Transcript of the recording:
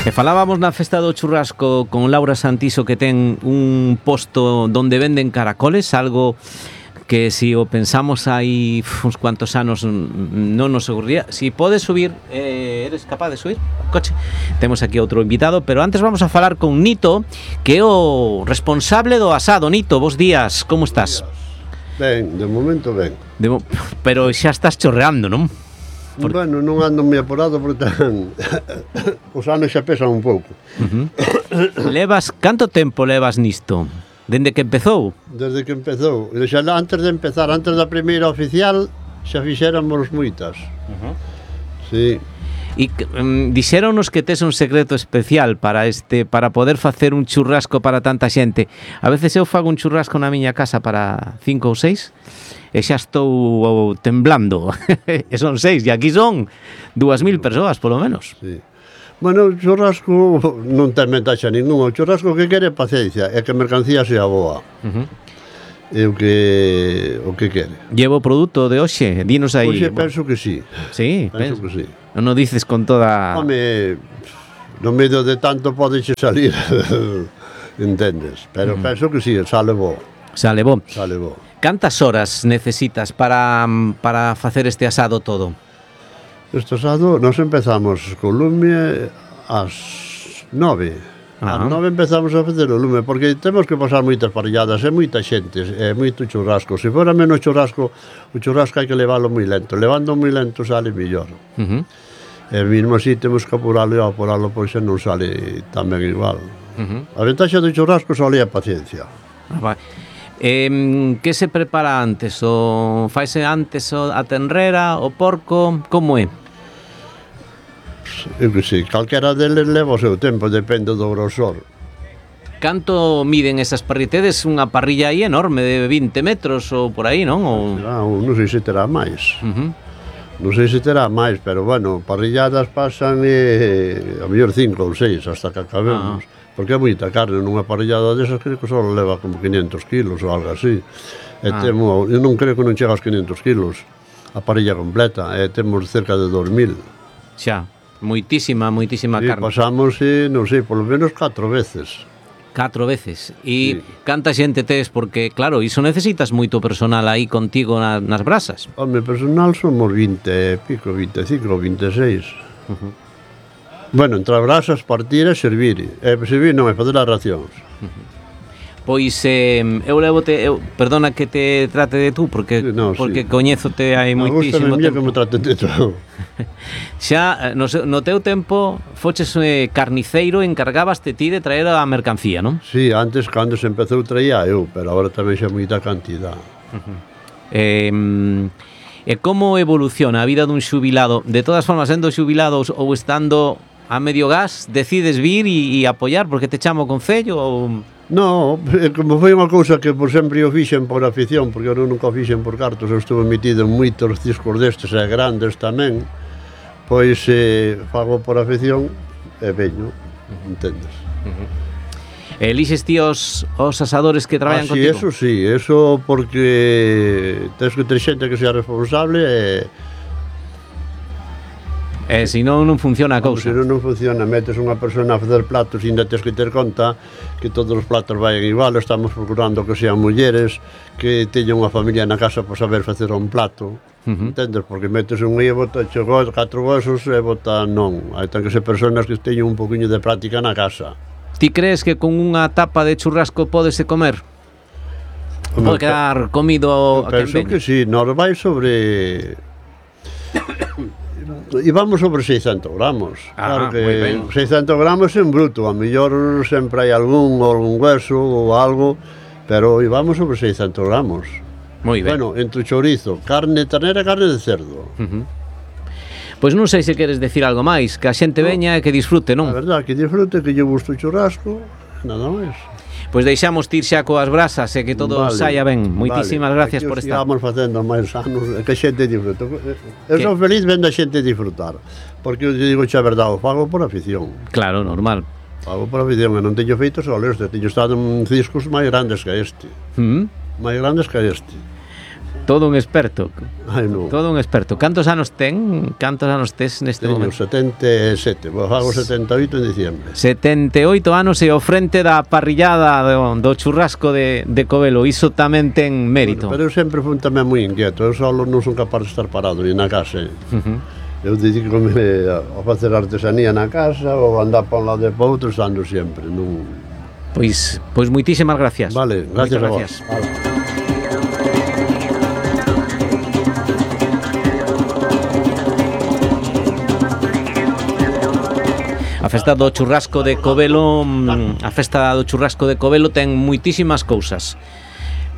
E falábamos na festa do churrasco con Laura Santiso, que ten un posto donde venden caracoles, algo que si o pensamos hai uns cuantos anos non nos ocurría. Si podes subir, eres capaz de subir o coche? Temos aquí outro invitado, pero antes vamos a falar con Nito, que é o responsable do asado. Nito, bos días, como estás? Ben, de momento ben. Pero xa estás chorreando, non? Bueno, non ando moi apurado porque os anos xa pesan un pouco. Canto tempo levas nisto? Dende que empezou? Desde que empezou. Xa antes de empezar, antes da primeira oficial, xa fixéramos moitas. Sí. E dixéronos que tes un secreto especial para poder facer un churrasco para tanta xente. A veces eu fago un churrasco na miña casa para 5 ou 6 e xa estou temblando. E son 6, e aquí son 2.000 persoas, polo menos. Sí. Bueno, o churrasco non ten ventaxa ninguna. O churrasco que quere paciencia e que a mercancía sea boa. É o que quere. Llevo produto de hoxe, dinos aí. Hoxe penso que sí. Sí, penso que sí. Non o dices con toda... Home, no medio de tanto podeche salir, entendes? Pero penso que sí, sale bo. Sale bo. Sale bo. Cantas horas necesitas para facer este asado todo? Este asado, nos empezamos co lume ás 9. Ás 9 empezamos a facer o lume, porque temos que pasar moitas parrilladas, é moita xente, é moito churrasco. Se fora menos churrasco, o churrasco hai que leválo moi lento. Levando moi lento sale mellor. E mesmo así temos que apuralo e apuralo, pois non sale tan ben igual. A ventaxa do churrasco só é a paciencia. Que se prepara antes? O faise antes a tenrera, o porco, como é? Eu que sei, calquera deles leva o seu tempo, depende do grosor. Canto miden esas parritedes? Unha parrilla aí enorme de 20 metros ou por aí, non? Non sei se terá máis. Non sei se terá máis, pero bueno, parrilladas pasan a mellor 5 ou 6 hasta que acabemos. Porque é moita carne, nunha parrillada desas creo que só leva como 500 kilos ou algo así. Eu non creo que non chega aos 500 kilos a parrilla completa, temos cerca de 2.000. Xa, moitísima carne. Pasamos, non sei, polo menos 4 veces. 4 veces. E canta xente tes? Porque, claro, iso necesitas moito personal aí contigo nas brasas. Home, personal somos 20 e pico, 25 ou 26. Bueno, entre as brasas partir e servir. Servir non é fazer as racións. Pois eu levote, perdona que te trate de tú, porque coñézote hai moitísimo tempo. Me gusta que me traten de tú. Xa, no teu tempo, foches carniceiro, encargabaste ti de traer a mercancía, non? Sí, antes, cando se empezou, traía eu, pero agora tamén xa moita cantidad. E como evoluciona a vida dun xubilado? De todas formas, sendo xubilados ou estando a medio gas, decides vir e apoiar porque te chama o concello ou... No, como foi unha cousa que por sempre o fixen por afición, porque eu nunca o fixen por cartos, eu estuve metido en moitos ciscos destes e grandes tamén, pois fago por afición e veño, entendes? Elixes ti os asadores que traballan contigo? Eso sí, eso porque tens que ter xente que sea responsable e se non funciona a cousa. Se non funciona, metes unha persona a facer platos e ainda tens que ter conta que todos os platos vayan igual. Estamos procurando que sean mulleres que teñan unha familia na casa para saber facer un plato, entendes? Porque metes un e bota 4 huesos e bota non. Hai ten que ser personas que teñan un poquinho de práctica na casa. Ti crees que con unha tapa de churrasco pódese comer? Pode quedar comido a quen veña? Penso que sí, nos vai sobre... E vamos sobre 600 gramos. Claro que 600 gramos en bruto, a mellor sempre hai algún hueso ou algo, pero vamos sobre 600 gramos. Moi ben. Bueno, entre chorizo, carne ternera e carne de cerdo. Pois non sei se queres decir algo máis, que a xente veña e que disfrute, non? A verdade, que disfrute, que lle gusta o churrasco, nada máis. Pois deixamos tir xa coas brasas e que todo saia ben. Moitísimas gracias por estar. Estamos facendo máis anos, que a xente disfrute. Eu son feliz vendo a xente disfrutar, porque eu digo xa a verdade, o fago por afición. Claro, normal. Fago por afición, e non teño feito só este, teño estado en ciscos máis grandes que este. Máis grandes que este. todo un experto. Ai, non. Todo un experto. Cantos anos tes neste Teño momento? 77, vos hago 78 en diciembre. 78 anos e ao frente da parrillada do churrasco de Covelo. Iso tamén ten mérito. Bueno, pero eu sempre fui tamén moi inquieto. Eu solo non son capaz de estar parado ni na casa. Eu dedícome a facer artesanía na casa ou andar para un lado e para outro, estando sempre. Non... Pois moitísimas gracias. Vale, gracias a vos. Vale. A festa do churrasco de Covelo ten moitísimas cousas.